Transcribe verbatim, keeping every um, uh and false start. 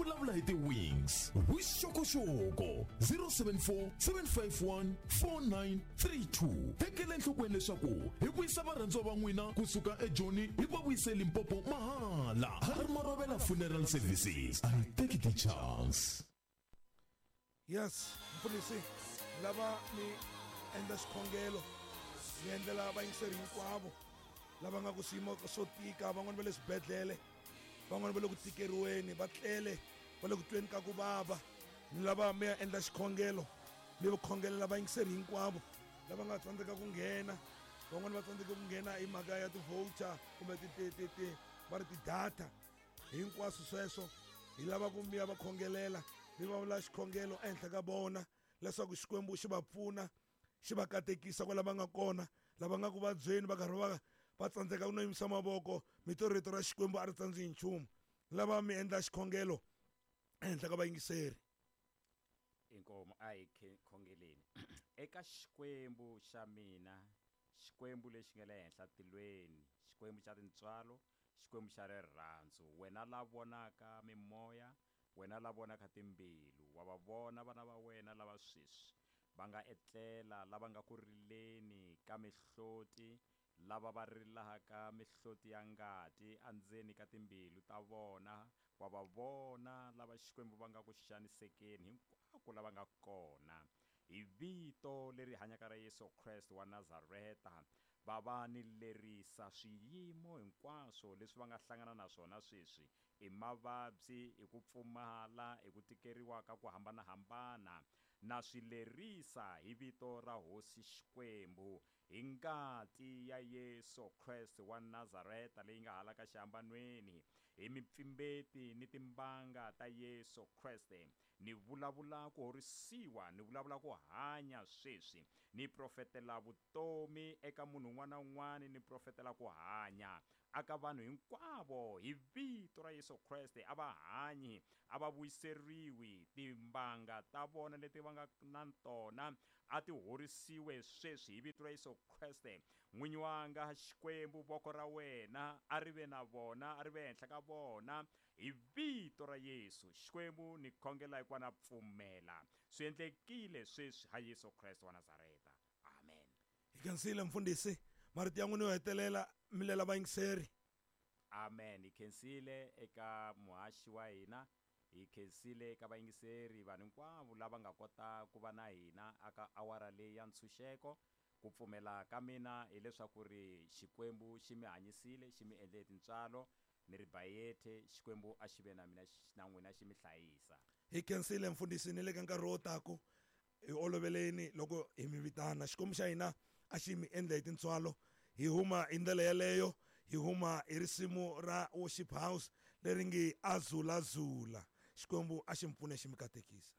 vulavula hi ti-wings. Vuxokoxoko zero seven four seven five one four nine three two. Tekela enhlokweni leswaku hi vuyisa varhandziwa va n'wina kusuka eJoni hi va vuyise Limpopo mahala. Harry Marobela Funeral Services. I take the chance. Yes, mfundhisi, lava mi endla xikhongelo mi endlela vayingiseri hinkwavo lava nga ku swiyimo swo tika, van'wani va le swibedhlele, van'wani va le ku tikeriweni, va tlele, va le ku tweni ka ku vava. Ni lava mi ya endla xikhongelo mi va khongelela vayingiseri hinkwavo lava nga tsandzeka ku nghena, van'wani va tsandzeka ku nghena hi mhaka ya ti-voucher kumbe ti, ti, ti, ti, va ri ti-data. Hinkwaswo sweswo hi lava ku mi ya va khongelela, mi va vula xikhongelo ehenhla ka vona leswaku Xikwembu xi va pfuna, xi va katekisa kwala va nga kona. Lava nga ku vabyeni va karhi va va tsandzeka ku no yimisa mavoko, mito rito ra Xikwembu a ri tsandzi hi nchumu. Lava mi endla xikhongelo ehenhla ka vayingiseri. Inkomo a hi khongeleni. Eka Xikwembu xa mina, Xikwembu lexi nga le henhla tilweni, Xikwembu xa tintswalo, Xikwembu xa rirhandzu, wena la vonaka mimoya, wena la vonaka timbilu, wa va vona vana va wena lava sweswi va nga etlela, lava nga ku rileni ka mihloti, lava va rilaka mihloti ya ngati endzeni ka timbilu ta vona, wa va vona lava Xikwembu va nga ku xanisekeni hinkwako lava nga kona. Hi vito leri hanyaka ra Yesu Kreste wa Nazareta, va va ni lerisa swiyimo hinkwaswo leswi va nga hlangana na swona sweswi, i mavabyi, i ku pfumala, i ku tikeriwa ka ku hambanahambana, na swi lerisa hi vito ra Hosi Xikwembu, hi ngati ya Yesu Kreste wa Nazareta leyi nga hala ka xihambanweni, hi mipfimbeti ni timbanga ta Yesu Kreste. Ni vulavula ku horisiwa, ni vulavula ku hanya sweswi, ni profetela vutomi eka munhu un'wana na un'wana, ni profetela ku hanya aka vanhu hinkwavo hi vito ra Yesu Kreste. A va hanyi, a va vuyiseriwi, timbanga ta vona leti va nga na tona a ti horisiwe sweswi hi vito ra Yesu Kreste. N'winyi wanga Xikwembu, voko ra wena a ri ve na vona, a ri ve henhla ka vona hi vito ra Yesu. Xikwembu ni khongela hikuva na pfumela swi endlekile sweswi ha Yesu Kreste wa Nazareta. Amen. Hi khensile mfundhisi, marito ya n'wina yo hetelela mi lela vayingiseri. Amen. Hi khensile eka muhaxi wa hina, hi khensile eka vayingiseri, vanhu hinkwavo lava nga kota ku va na hina aka awara leyi ya ntshunxeko. Ku pfumela ka mina hileswaku ri Xikwembu xi mi hanyisile, xi mi endle tintswalo, ni ri bayethe. Xikwembu a xi ve na mina na n'wina xi mi hlayisa. Hi khensile mfundhisi, ni le ka nkarhi wo taku hi oloveleni loko hi mi vitana. Xikwembu xa hina a xi mi endle hi tintswalo. Hi huma hi ndlela yeleyo, hi huma hi risimu ra Worship House leri nge Azulazula. Xikwembu a xi mi pfune xi mi katekisa.